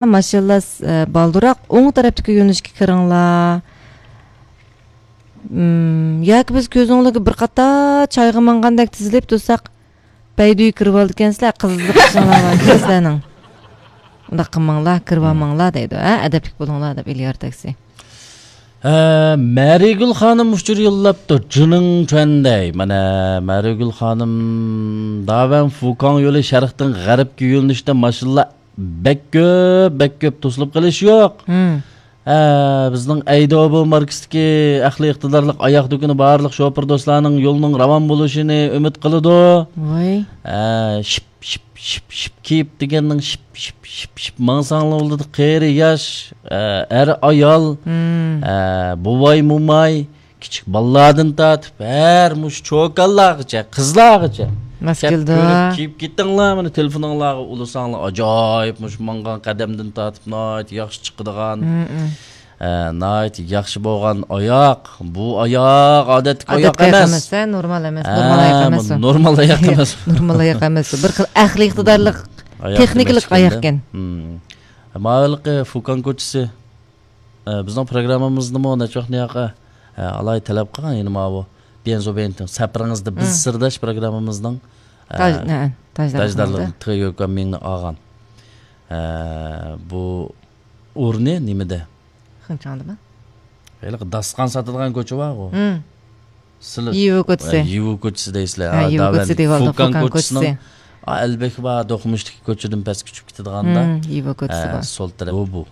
Машалла балдурак оң тараптыкы юнушка кырыңла. Яки биз көзүңөргө бир ката чайга мангандак тизилип турсак, бәйдүй кырып алды экенсиздер, кызык чаңалар силернин. Унда кылмаңла, кырбамаңла дейди, адептик болуңла деп Илияр такси. Мәригүл ханым учур yıllaптыр, жының чөндей. Мана Мәригүл ханым даван Фукан yolu шарықтың ғарипки юлниште машалла бек көп тосылып калыш жок. Биздин Айдобу марксдики акылы ыктыдарлык аяк дүкүнү барлык шопур достарынын жолунун раван болушуну үмүт кылыды. Ой. Шип кип дегеннин шип маңсаңлы болду. Кайры яш, эр аял, бубай мумай, кичик балладын татып, бәр муш чокаллагыча, кызлагыча. Маскилда. Кип кеттиңла, мына телефонуңларга уласаңла, ажайып муш манган кадамдын татып, найт яхшы чыккыдыган. Найт яхшы болгон аяк. Бу аяк адеттик аяк эмес. Нормал эмес, нормал аяк эмес. Нормал аяк эмес. Нормал аяк эмес. Бир кыл акыл ыктыдарлык, техникалык аяк экен. Маалыкы Фукан көчүсү. Биздин программабызды мына чокнияка алай талап кылган, эми мабу Бензобенттин сапырыңызды биз сырдаш программабыздын таждарлыгын тыгып мени алган. Бу урне немеде? Кынчандымы? Эле даскан сатылган көчө бар го. Иву көчүсү. Иву көчүсү дейсиздер. Фукан көчүсү. Элбек бар докумуштук көчөдөн пас күчүп кетидиганда. Иву көчүсү бар. Сол тарап бу.